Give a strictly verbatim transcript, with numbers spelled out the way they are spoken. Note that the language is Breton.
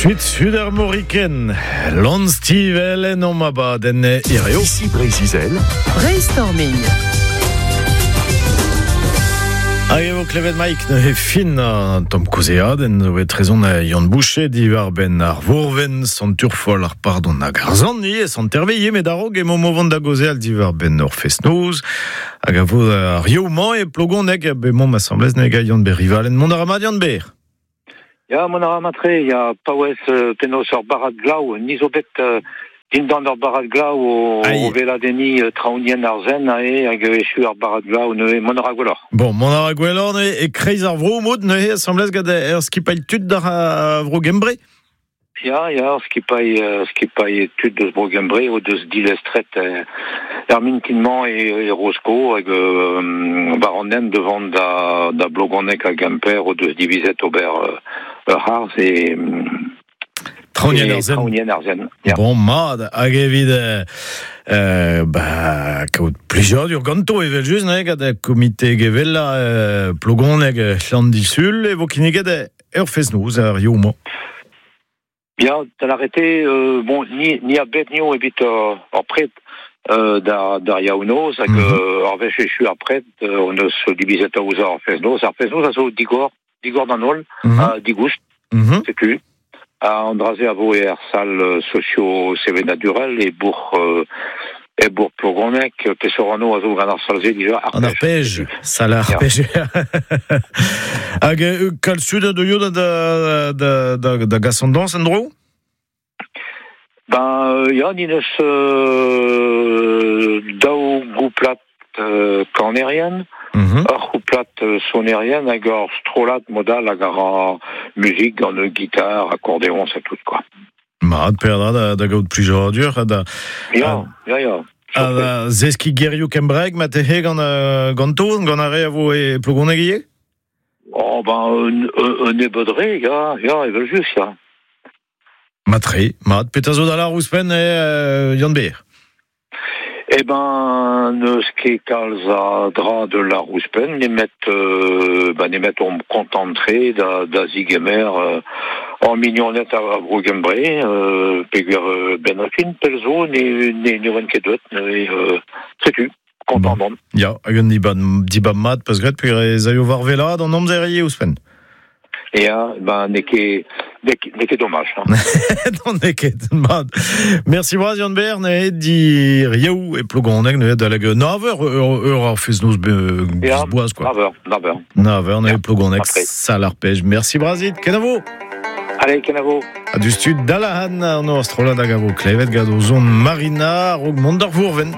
Suite Sud-Armoricaine, Lon Stivellen en abadenn hirio. Ici Breizh-Izel. Brainstorming. Hag eo klevet Mike neuze fin an tamm kaozeadenn zo bet trezon Yann Boucher diwar ben ar Vourven, sant Turfol ar pardon hag ar zant ivez, sant Hervé met a-raok emaomp o vont da gaozeal diwar ben ur fest-noz hag a vo ar yaou-mañ e Plogoneg be mont asambles neuze gant Yann Ber Rivalen. Mont a ra mat Yann Ber. Ya, mont a ra mat-tre, ya paouez euh, penaos ur barrad glav, ni zo bet euh, dindan ur barrad glav o, Aïe. o weladenniñ euh, traoñienn ar Zen ae hag echu ar barrad glav neuze mont a ra gwelloc'h. Bon, mont a ra gwelloc'h neuze e kreiz ar vro mod neuze asambles gant ur skipailh tud d'ar euh, vro Gembre. Ya, ya, skipailh, euh, skipailh tud deus bro Gembre o deus dilestret euh, ar mintin-mañ e, e Rosko hag euh, war an hent devant da, da Blogonneg hag Gemper o deus divizet ober euh, ur harz e, Traoñienn e ar Zen. traoñienn ar Zen. Ya. Bon, mat, hag evit euh, euh, ba, kaout plijadur ganto evel just neuze gant komite gevellañ euh, Plogoneg Llandysul e vo kinniget ur fest-noz ar yaou-mañ. Ya, da l'arrêté, euh, bon, ni, ni a bet nio evit ur, ur pred euh, d'ar, d'ar yaou-noz, hag Mm -hmm. euh, ar wech echu ar pred, euh, on eus divizet aozañ ar fest-noz. Ar fest-noz a zo digor, digor d'an holl, Mm -hmm. ha digoust, Mm -hmm. setu. Ha an dra-se a vo er sal socio-sevenadurel e bourc'h euh, e bourc'h Plogoneg, peseurt anv a zo gant ar sal-se dija, An Arpej. arpej, sal ar Ya. pej. Hag euh, kalz tud a deuio da, da, da, da, da gas an dañs en-dro? Ben, euh, ya, ni neus euh, daou gouplad euh, kanerien, Mm -hmm. ur c'houplad euh, sonerien hag ur strollad modal hag a ra muzik gant ur gitar, accordéon, c'est tout, quoi. Mat, peadra da, da gaout plijadur ha da, Ya, ya, ya. ha da zeskiñ gerioù kembraeg ma tehe gant, euh, ganto, gant ar re a vo e Plogoneg ivez? Oh, ben, un, un, un nebeud re, ya, ya, evel just, ya. Mat-tre, mat, petra zo da lâr ouzhpenn e euh, Yann Ber. Eh ben, n'eus ket kalz a dra de lâr ouzhpenn, nemet, euh, ben, nemet omp kontant-tre da, da zigemer euh, hor mignoned a, a vro Gembre, euh, peogwir euh, ben ar fin pell zo ne, ne, ne oan ket deuet, neuze, euh, setu, kontant Bon. on. Ya, hag un dibab, dibab mat, peus graet, peogwir ez aio war wellaat an amzer ivez ouzhpenn. Ya, ben, n'eo ket, n'eo ket, n'eo ket domaj. Hein. Non, n'eo ket, mat. Mersi bras Yann Ber, neuze d'ar yaou e Plogoneg, neuze adalek nav eur, eur, eur ar fest-noz be, Ya, boaz, quoi. Nav eur, nav eur. Nav eur, neuze Ya, Plogoneg, après. sal ar pej. Mersi bras dit, kenavo. Allez, kenavo. Ha du stud Dalahan, an ur strollad hag a vo klevet gant o zon Marina, a-raok mont d'ar Vourven.